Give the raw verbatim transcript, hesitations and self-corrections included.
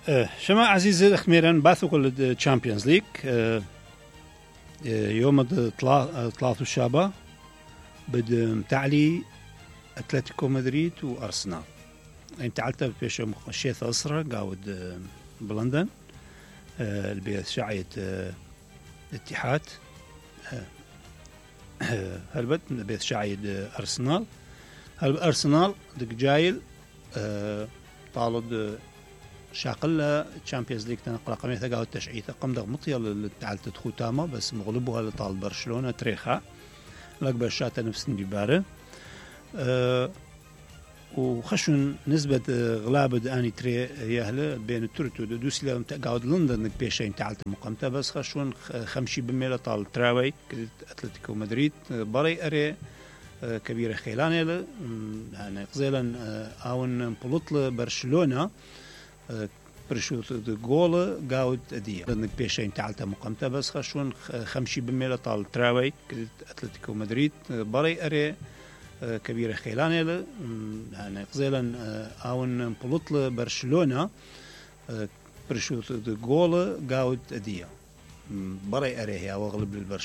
أه شما عزيزي الأخميرا باثو كل تشامبيونز ليج أه يوم ثلاثة الشابة بد متعلي أتلتيكو مدريد وأرسنال. انت تعلت بيش مخشيت أسرة قاود بلندن أه البيت شعيت أه اتحاد أه هلبت بيت شعيد أرسنال هل أرسنال دك جايل أه طالد شاقلة تشامبيونز ليج تنقل قمية ثقة التشعيث قم دغ مطيل تعال تدخو تاما بس مغلبها لطال برشلونة تريخا لك برشاتة نفس ديبارة أه وخشون نسبة غلابة آني تري يهلا بين التورتو دوسي لهم تقعد لندن بيشين تعالت مقامتها بس خشون خمشي بميلة طال تراوي أتلتيكو مدريد بري أري كبيرة خيلانة يعني قزيلا آون بلطل برشلونة برشوت جول قاود أدية لأنك بيشين تعالت مقامتها بس خشون خمشي بميلة طال تراوي أتلتيكو مدريد بري أري كبيرة خيلانة يعني قزيلا آون بلطل برشلونة برشوت جول قاود أدية بري أري هي وأغلب البرشلونة